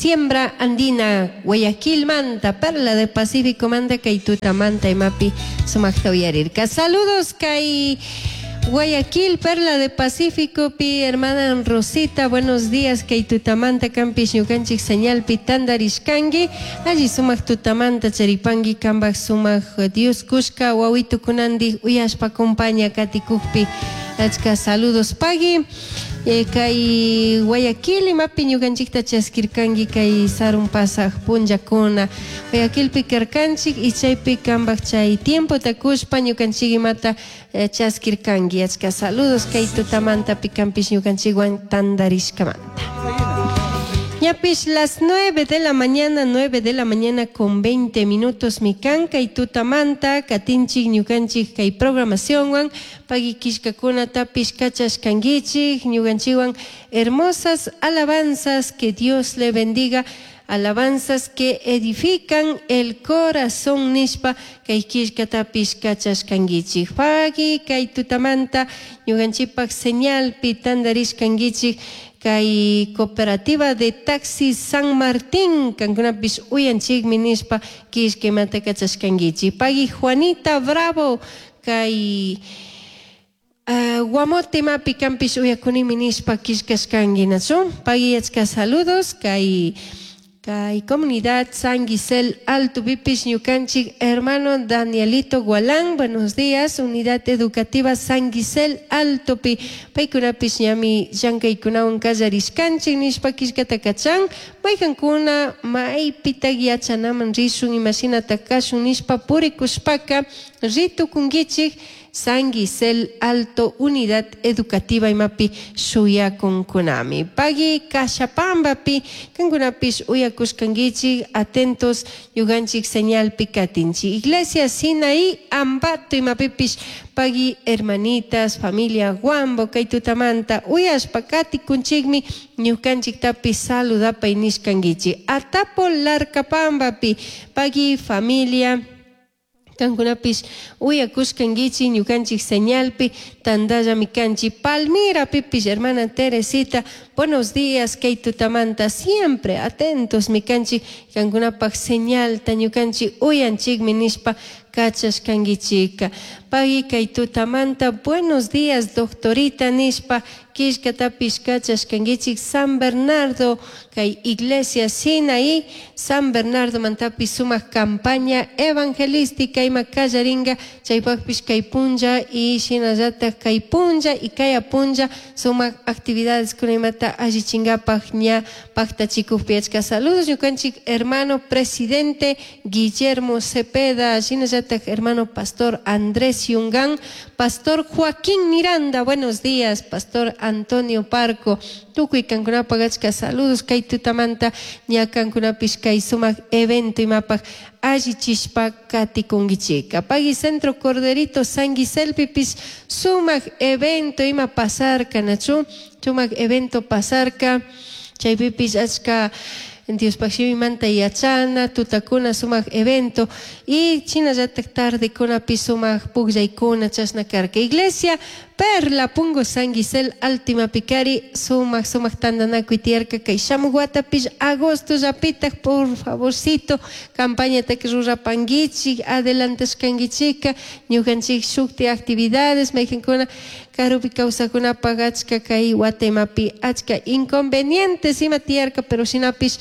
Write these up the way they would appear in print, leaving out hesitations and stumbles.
Siembra Andina Guayaquil manta, Perla de Pacífico manta, kay tutamanta imapi sumajta uyarirka. Saludos kay Guayaquil, Perla de Pacífico pi hermana Rosita, buenos días, kay tutamanta kanpish ñukanchik señalpi tandarishkanki, alli sumak tutamanta charipanki kambaj sumak Dios kushka wawitukunandik uyashpa compaña katikukpi achka saludos pagui. Kay Guayaquil imapi ñukanchikta chaskirkanki kay sarun pasaj punllakuna Guayaquilpi karkanchik y chaypi kambaj chay tiempota kushpa ñukanchik imata chaskirkanki. Achka saludos kay tutamantapi kanpish ñukanchikwan tandarishkamanta. Ñapish las 9 de la mañana, 9 de la mañana con 20 minutos mikan kay tutamanta katinchik ñukanchik kay programacionwan pagui killkakunatapish kachashkankichik ñukanchikwan hermosas alabanzas, que Dios le bendiga, alabanzas que edifican el corazón nishpa kay killkatapish kachashkankichik. Pagui kay tutamanta ñukanchikpak señalpi tandarishkankichik kay cooperativa de taxi San Martín kankunapish uyanchikmi nishpa killkamanta kachashkankichik. Pagui Juanita Bravo kay Guamote imapi kanpish uyakunimi nishpa killkashkanki, nachu? Pagui achka saludos kay comunidad San Gisel Alto pipish ñukanchik hermano Danielito Gualán, buenos días, unidad educativa San Gisel Alto pi paykunapish ñami llankaykunawan kallarishkanchik nishpa killkata kachan maykankuna maypitak yachanaman rishun imashinatak kashun nishpa purikushpaka ritukunkichik San Gisel Alto Unidad Educativa imapi shuyakunkunami. Pagui Kashapambapi kankunapish uyakushkankichik atentos ñukanchik señalpi katinchik. Iglesia Sinaí Ambato imapipish pagui hermanitas familia Guambo kay tutamanta uyashpa katikunchikmi ñukanchiktapish saludapay nishkankichik. Atapo Larcapambapi pagui familia kankunapish uyakushkankichik ñukanchik señalpi tantallami kanchik. Palmira pipish hermana Teresita, buenos días, kay tutamanta siempre atentos mi kanchik kankunapak señalta ñukanchik uyanchikmi nishpa kachashkankichika. Pagui kay tutamanta buenos días doctorita nishpa killkatapish kachashkankichik San Bernardo kay iglesia Sinaí San Bernardo mantapish sumak campaña evangelística ima kallaringa chaypakpish kay punlla y shinallatak kay punlla y kaya punlla sumak actividades kuna imata allichingapak ña paktachikukpi achka saludos ñukanchik hermano presidente Guillermo Cepeda shinallatak hermano pastor Andrés Yungán, pastor Joaquín Miranda, buenos días, pastor Antonio Parco, tukuy kankunapak achka saludos kay tutamanta ña kankunapish kay sumak evento imapak allichishpa katikunkichika. Pagui Centro Corderito San Giselpipish sumak evento ima pasarka, nachu? Sumak evento pasarka, chaypipish achka Diospaj shimimanta yachana, tutakuna sumak evento y shinallatak tardekunapi sumak pukllaykuna chashna karka. Iglesia Perla Pungo San Gisel Alto imapikari sumak sumak tantanakuy tiyarka kay shamuk watapish agosto llapitak por favorcito campañataka rurapankichik adelantashkankichika ñukanchik shukti actividades maykankuna karupi kawsakunapak achka kay wata imapi achka inconvenientes ima tiyarka pero shinapish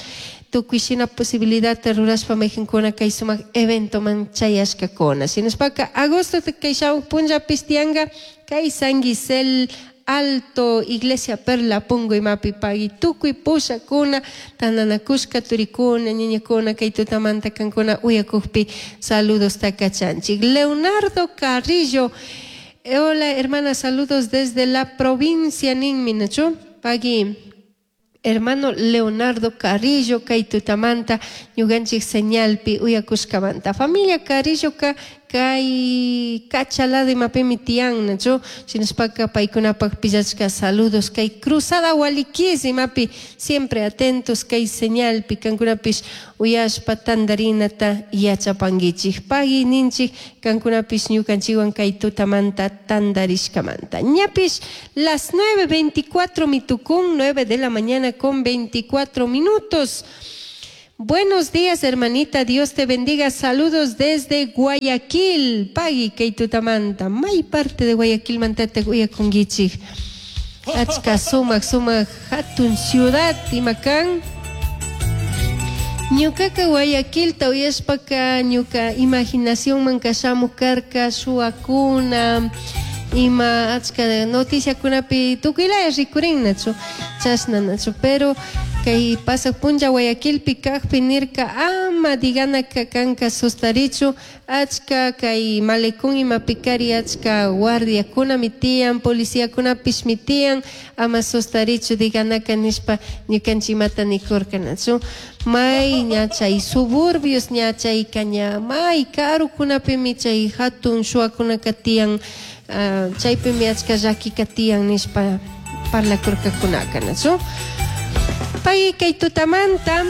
tukuy shina posibilidadta rurashpa maykankuna kay sumak eventoman chayashkakuna. Shinashpaka agosto kay shamuk punllapish tiyanka kay San Gisel Alto Iglesia Perla Pungo imapi pagui tukuy pushakuna tantanakushka turikuna ñañakuna kay tutamanta kankuna uyakukpi saludos kachanchik. Leonardo Carrillo, hola hermana, saludos desde la provincia ninmi, nachu? Pagui hermano Leonardo Carrillo kay tutamanta ñukanchik señalpi uyakushkamanta. Familia Carrillo ka Kay Cacha lado imapimi tiyan, nachu? Shinashpaka paykunapakpish achka saludos kay Cruzada Waliquis imapi siempre atentos kay señalpi kankunapish uyashpa tandarinata yachapanguichik. Pagui ninchik kankunapish ñukanchikwan kay tutamanta tandarishkamanta. Ñapish las 9:24 mi tukun, 9 de la mañana con 24 minutos. Buenos días, hermanita. Dios te bendiga. Saludos desde Guayaquil. Pagui kay tutamanta. May parte de Guayaquil mantataq uyakunkichik. Achka sumaq sumaq hatun ciudad ima kan. Ñucaca Guayaquilta uyashpaka ñuca imaginacionman kashamuj karka shuwakuna ima achka noticiakunapi tukuylaya rikurin nachu chashna nachu pero kay pasaq punlla Guayaquilpi kajpi nirka ama diganaka kanka sustarichu achka kay malecón imapikari achka guardiakunami tiyan policiakunapishmi tiyan ama sustarichu diganaka nishpa ñukanchik imata nikurka nachu may ña chay suburbios ña chayka ña may karukunapimi chay hatun shuwakunaka tiyan chaypimi achka llakika tiyan nishpa parlakurkakunaka nachu pay kay tutamanta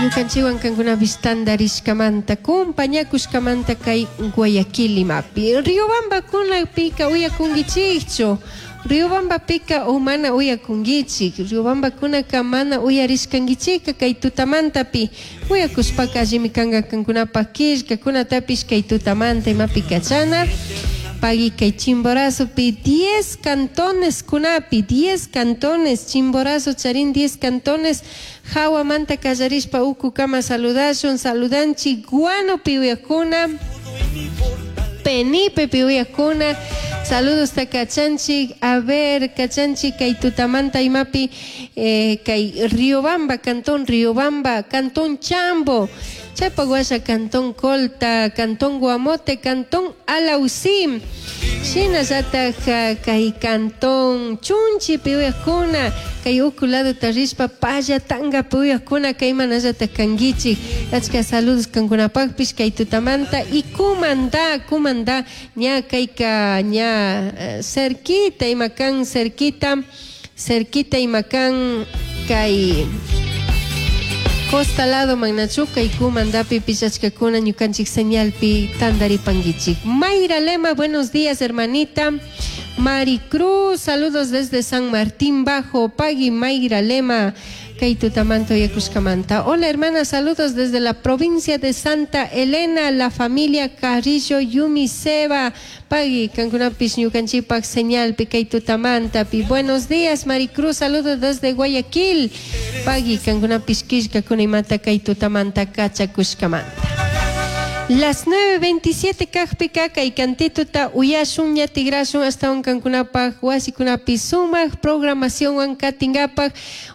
ñukanchikwan kankunapish tandarishkamanta kumpañakushkamanta kay Guayaquil imapi Riobambakunapika uyakunkichikchu Riobambapika o mana uyakunkichik Riobambakunaka mana uyarishkankichikka kay tutamantapi uyakushpaka allimi kanka kankunapak killkakunatapish kay tutamanta imapi kachana pagui kay Chimborazopi 10 cantones kunapi 10 cantones Chimborazo charin 10 cantones hawamanta kallarishpa ukukama saludashun saludanchik Guanopi uyakuna Penipepi uyakuna saludos ta kachanchik a ver kachanchik kay tutamanta imapi kay Riobamba cantón Riobamba cantón Chambo Chapaguasha cantón Colta cantón Guamote cantón Alausí shinallatak kay cantón Chunchipi uyakuna kay uku lado tarishpa Pallatangapi uyakuna kaymanallataq kankichik achka saludos kankunapakpish kay tutamanta y kumanda kumanda ña kayka ña cerquita ima kan cerquita cerquita ima kan kay costa lado mannachu kay kumandapi pillachkakuna ñukanchik señalpi tandaripankichik. Mayra Lema, buenos días hermanita. Maricruz, saludos desde San Martín Bajo, Pagui Mayra Lema, kay tutamanta uyakushkamanta. Hola hermana, saludos desde la provincia de Santa Elena, la familia Carrillo Yumi Seba, Pagui kankunapish ñukanchikpak señalpi kay tutamantapi. Buenos días Maricruz, saludos desde Guayaquil, Pagui kankunapish killkakuna imata kay tutamanta kachakushkamanta. Las 9:27 kajpika kay kantituta uyashun ña tigrashun ashtawan kankunapak wasikunapi sumak programacionwan katinkapak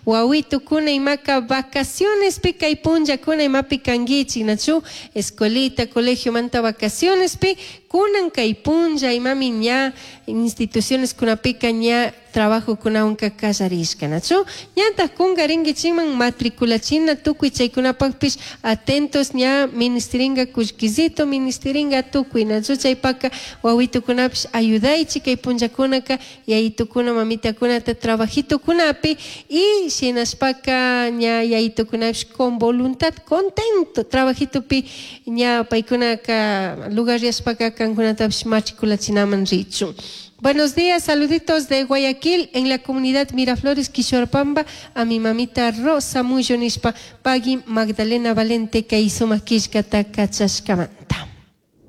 wawitukuna imaka vacacionespi kay punllakuna imapi kankichik nachu escuelita colegiomanta vacacionespi kunan kay punlla imami ña instituciones kunapika ña trabajo kunawanka kallarishka nachu ñatak kunkarinkichikman matriculachina tukuy chaykunapakpish atentos ña ministeringa kullkisito ministeringa tukuy nachu chaypaka wawitukunapish ayudaychik kay punllakunaka yayitukuna mamitakunata trabajitukunapi y shinashpaka ña yayitukunapish con voluntad contento trabajitupi ña paykunaka lugaryashpaka kankunatapish matriculachinaman richun. Buenos días, saluditos de Guayaquil en la comunidad Miraflores, Quishuarpamba, a mi mamita Rosa Muyo nishpa, Pagui Magdalena Valente, kay sumak killkata kachashkamanta.